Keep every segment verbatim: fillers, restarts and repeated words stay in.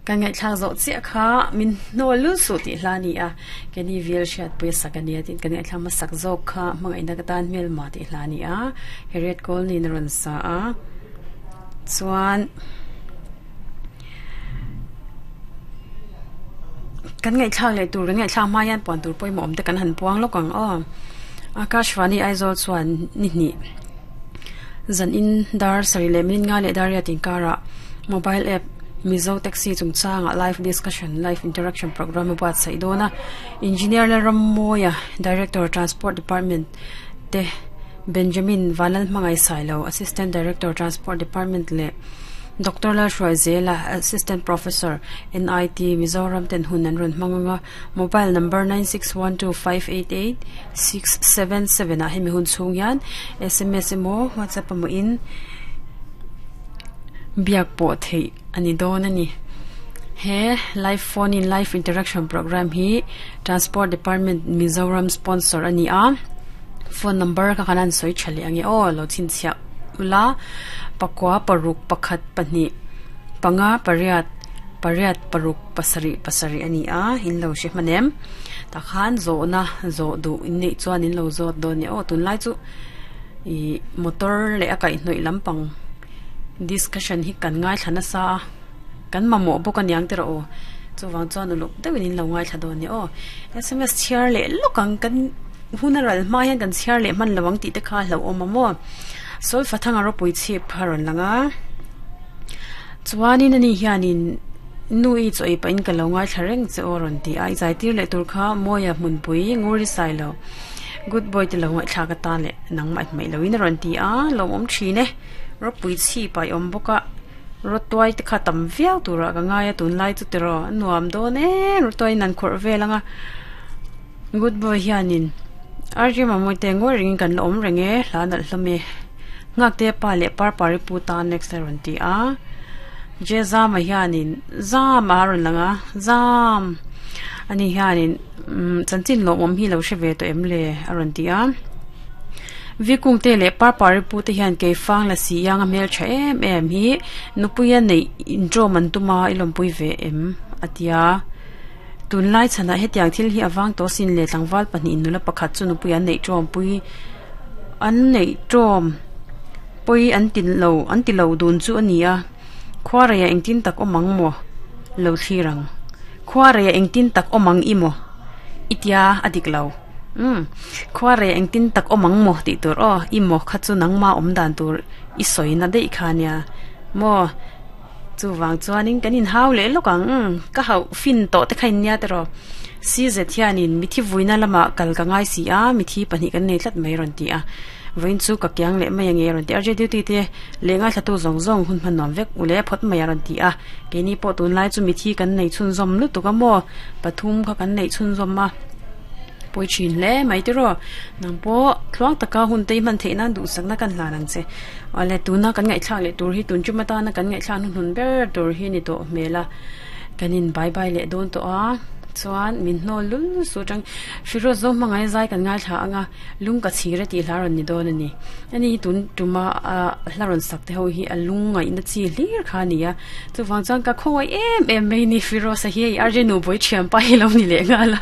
Kan ngai thlang zo chia kha min no lu su ti hla ni a keni vil shat pui sakania tin kan ngai thlang ma sak zo kha mangai na ka tan mel ma ti hla ni a Harriet Cole ni ron sa a chuan kan ngai thlang le tur kan ngai thlang ma yan pon tur poi mom te kan han puang lokang o Akashvani Aizawl chuan ni ni zan in dar sari le min nga le dar ya tin kara mobile app Mizo Taxi chungchanga live discussion live interaction program buat sai dona engineer la Rammoya director transport department te Benjamin Vanal Mangai Sailo assistant director transport department le Doctor La Shroizela assistant professor N I T Mizoram ten hunan run manganga mobile number nine six one two five eight eight six seven seven a hemi hun chung yan S M S mo WhatsApp mo in biak po thei ani don ani he live phone in live interaction program hi transport department Mizoram sponsor ani a phone number ka kanan soi chali ange o lo chin chia ula pakwa paruk pakhat pani panga pariat pariat paruk pasari pasari ani a in lo shi manem takhan zo na zo du in nei chuan in lo zo do ni o tun lai chu i motor le akai hnoi lampang discussion hi kan ngai thana sa kan mamo bo kan yang tero o chu wang chuan uluk deuhin in lo ngai thla do ni o S M S chiar le lokang kan hunaral ma hian kan chiar le man lawang ti te kha hlo om mo sol fathanga ro pui chip haron langa chuanin ani hianin nui choi pain ka lo ngai thlareng che oron ti ai zai tir le tur kha moya mun pui nguri sai lo good boy ti lo ngai thla ka ta le nang mai mai lo in ron ti a lo om thine ro pui chi pai om boka ro toy te kha tam viau tura ka ngai tun lai chu tero nuam do ne ro toy nan khor velanga good boy hianin arji mamoi te ngor ring kan om renge hla nal hlame ngak te pa le par pari pu ta next ron ti a je zam a hianin zam a ron langa zam ani hianin chanchin lo om hi lo hre to em le aron ti a vikung te le par pari pu te hian ke fang la si yang a mel tha em em hi nupuia nei intro man tuma ilom pui ve em atia tun lai chana hetiang thil hi awang to sin le tlangwal pahnih nula pakhat chu nupuia nei trom pui an nei trom pui an tin lo an ti lo dun chu ania khwareya engtin tak omang mo lo thirang khwareya engtin tak omang imo itia adik lo um khwareya engtin tak omang mo ti tur o imo kha chu nangma om dan tur i soina dei khania mo chu wang chuanin kanin hau le lokang ka hau fin to te khain nia tero si ze thianin mithi vuina lama kal ka ngai si a mithi pahnih kan nei tlat mai ron ti a voin chu ka kyang le mai nge ron ti arje duty te le ngai thatu zong zong hun phan nom vek ule phot mai ron ti a ke ni po tun lai chu mithi kan nei chun zom lu tu ka mo pathum kha kan nei chun zom ma poi chin le mai ti ro nang po thluang taka hun te man theina du sakna kan hla nang che ale tuna kan ngai thlak le tur hi tun chumata na kan ngai thla hun hun ber tur hi ni to mela kanin bye bye le don to a chuan min hno lul su tang firoz zo mangai zai kan ngai thla anga lung ka chira ti hlaron ni don ani ani tun tuma hlaron sak te ho hi alung ngai na chi hlir kha nia chu wang chuan ka khowai em em mai ni firoz a hi arje nu boi thiam pa hi lo ni le nga la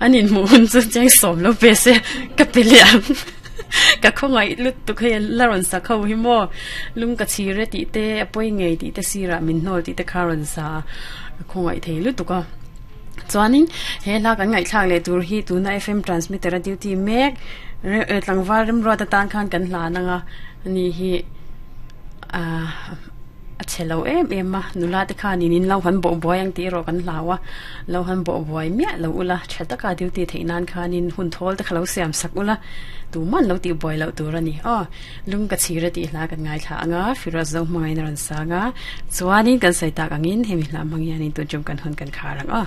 anin mu hun chu chang som lo pe se ka pe le ka khongai lut tu khe laron sa kho hi mo lung ka chire ti te apoi ngei ti te sira min hnol ti te kharon sa khongai thei lut tu ka chuanin he la kan ngai thlak le tur hi tuna F M transmitter a duty mek tlangwal rem ro ta tan khan kan hla nanga ani hi a a chelo em em ma nula te khan in lo han bo boy ang ti ro kan hlawa lo han bo boy mia lo ula thataka duty theinan khanin hun thol te khalo siam sak ula tu man lo ti boy lo tur ani o lung ka chira ti hla kan ngai thla anga firoz zo mangai na ran sanga chuanin kan sai tak angin hemi hla mangianin tu jum kan hun kan kharang o.